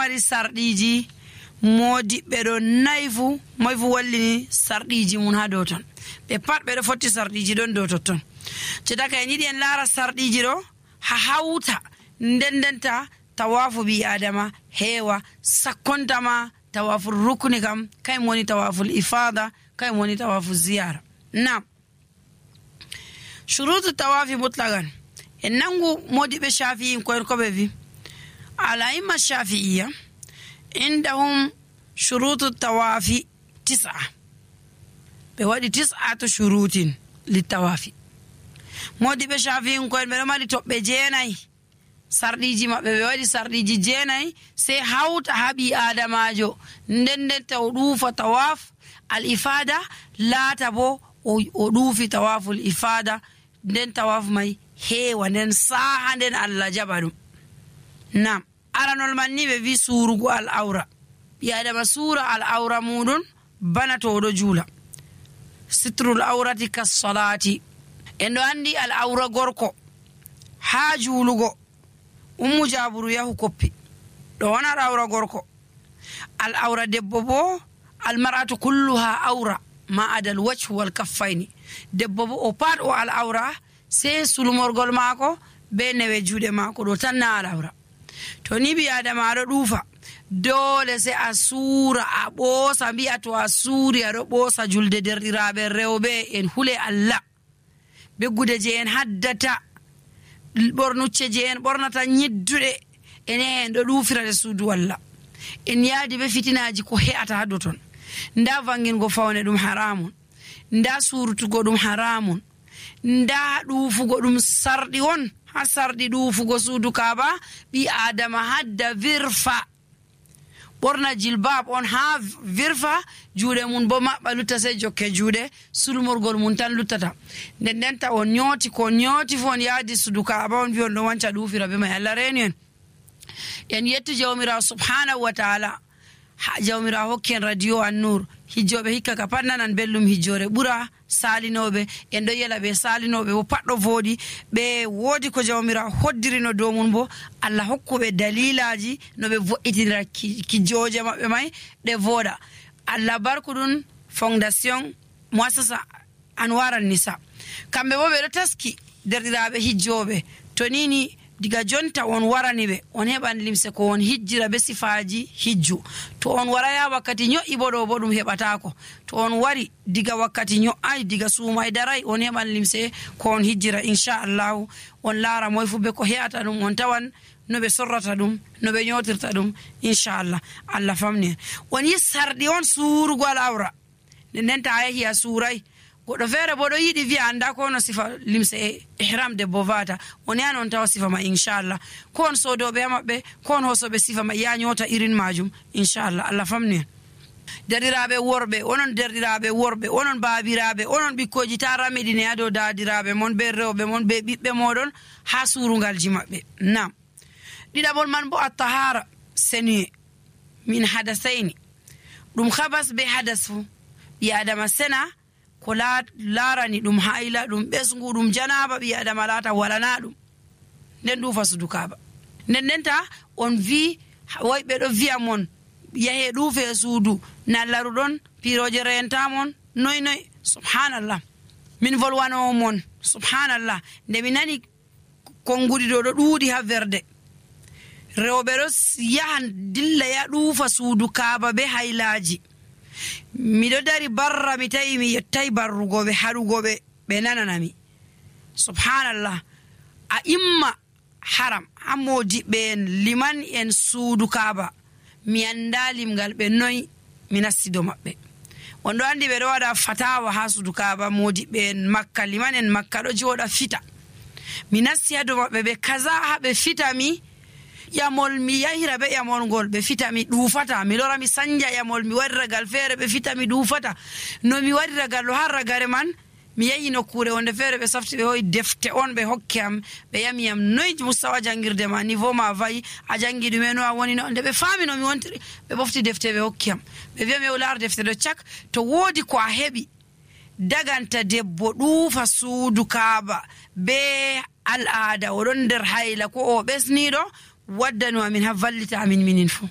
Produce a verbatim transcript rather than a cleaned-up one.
mari sarɗiji modiɓɓe ɗo nayi fu moy fu wallini sarɗiji mum ha dow ton ɓe pat ɓeɗo fotti sarɗiji ɗon dow totton cetaka en yiɗi en laara sarɗiji ɗo ha hawta nden ndenta tawafu ɓi adama heewa sakkontama tawaful rukni kam kayum woni tawaful ifada kayum woni tawaful ziyara. Nam shurutu tawafi mutlagan en nangu modiɓe shafi'in koyen koɓe wi alaimma shafi'iya indahum shurutu tawafi tis'a ɓe waɗi tis'atu shurutin littawafi. modiɓe shafi'in koyen ɓeɗo mari toɓɓe jeenayi sarɗiji maɓɓe ɓe waɗi sarɗiji jeenayi sey hawta ha ɓi adamajo nden nden taw ɗuufa tawaf al ifada laata bo o ɗuufi tawaful ifada nden tawaf may heewa nden saaha nden Allah jaɓa ɗum. nam aranol man ni ɓe wi suurugo al awra ɓi adama suura al awra muɗum bana to oɗo juula sitrul awrati kas salati en ɗo andi al awra gorko ha juulugo ummu jaburu yahu koppi ɗo wona al awra gorko. al awra debbo bo al mar'atu kulluha awra ma adal wajhu wal kaffayni debbo bo o pat o al awra sey sulmorgol maako be newe juuɗe maako ɗo tan na al awra. to ni ɓi adama aɗo ɗuufa dole sey a suura a ɓoosa mbi'a to a suuri aɗo ɓoosa julde derɗiraɓe rewɓe en hule Allah beggude je en haddata ɓornucce je en ɓornata ñidduɗe ene en ɗo ɗuufirade suudu Allah en yaadi be fitinaji ko he'ata hado ton nda vangingo fawne ɗum haramun nda surutugo ɗum haramun nda ɗuufugo ɗum sarɗi on ha sarɗi ɗuufugo suudu kaaba ɓi adama hadda virfa ɓorna jilbab on ha virfa juuɗe mum bo maɓɓa lutta sey jokke juuɗe sulmorgol mum tan luttata nden ndenta on ñooti ko ñooti fu on yaadi suudu kaaba on wi on ɗo wanca ɗuufira be may Allah reeni en en yettu jawmirawo subhanahu wa taala ha jawmirawo hokki en radio an-nur hijjoɓe hikka ka pat nanan bellum hijjore ɓura salinoɓe en ɗo yela ɓe salinoɓe bo pat ɗo voɗi ɓe woodi ko jawmirawo hoddirino dow mum bo Allah hokkuɓe dalilaji no ɓe vo'itinira kijjoje maɓɓe may ɗe voɗa. Allah barku ɗum fondation muassasa anwaran nisa kamɓe bo ɓeɗo taski derɗiraɓe hijjoɓe to nini diga jonta on warani ɓe on heɓan limse ko on hijjira be sifaji hijju to on waraya wakkati nyo'i bo ɗo bo ɗum heɓatako to on wari diga wakkati nyo'ai diga suumai darai on heɓan limse ko on hijjira inchallahu on laara moy fu be ko he'ata ɗum on tawan no ɓe sorrata ɗum no ɓe nyotirta ɗum inchallah Allah famni on yi sarɗi on suurugo al awra nden nden ta yahi a suurai goɗɗo feere bo ɗo yiɗi wiya anda ko no sifa limse e ihram debbo vata on yani on tawa sifa ma inchallah ko on sodoɓe ha maɓɓe ko on hosoɓe sifa ma ya ñoota irin majum inchallah Allah famni en. derɗiraɓe worɓe onon derɗiraɓe worɓe onon baabiraɓe onon ɓikkoji ta ramiɗine ha dow dadiraɓe mon be rewɓe mon be ɓiɓɓe moɗon ha suurungalji maɓɓe. nam ɗiɗaɓol man bo attahara senuye min hadasayni ɗum habas be hadas fu ɓi adama sena ko laarani ɗum hayla ɗum ɓesgu ɗum janaba ɓi adama laata walana ɗum nden ɗuufa suudu kaaba nden ndenta on wi way ɓeɗo wiya mon yahe ɗuufe suudu nallaruɗon piroje rentamon noy noy subhanallah min volwanowo mon subhanallah nde mi nani konngudi ɗo ɗo ɗuuɗi ha verde rewɓe ɗo yahan dilla ya ɗuufa suudu kaaba be haylaji miɗo dari barra mi tawi mi yettai barrugoɓe haɗugoɓe ɓe nananami subhanallah a imma haram ha modiɓɓe en liman en suudu kaaba mi anda limgal ɓe noyi mi nassido maɓɓe on ɗo andi ɓe ɗo waɗa fatawa ha suudu kaaba modiɓɓe en makka liman en makka ɗo jooɗa fita mi nassi ha dow maɓɓe ɓe kaza ha ɓe fitami yamol mi yahira be yamol ngol ɓe fita mi ɗuufata mi lora mi sanja yamol mi waɗi ragal feere ɓe fita mi ɗuufata no mi waɗi ragal ɗo har ragare man mi yahi nokkure wonde feere ɓe safti ɓe hoyi defte on ɓe hokki am ɓe yami yam noyi mustawa jangirde ma niveau ma vayi a jangi ɗume no a woni no nde ɓe faami no mi wontiri ɓe ɓofti defte ɓe hokki am ɓe wiya mi laar defte ɗo cak to woodi ko a heɓi daganta debbo ɗuufa suudu kaaba be al'ada oɗon nder hayla ko o ɓesniɗo waddanu amin ha vallita amin minin fu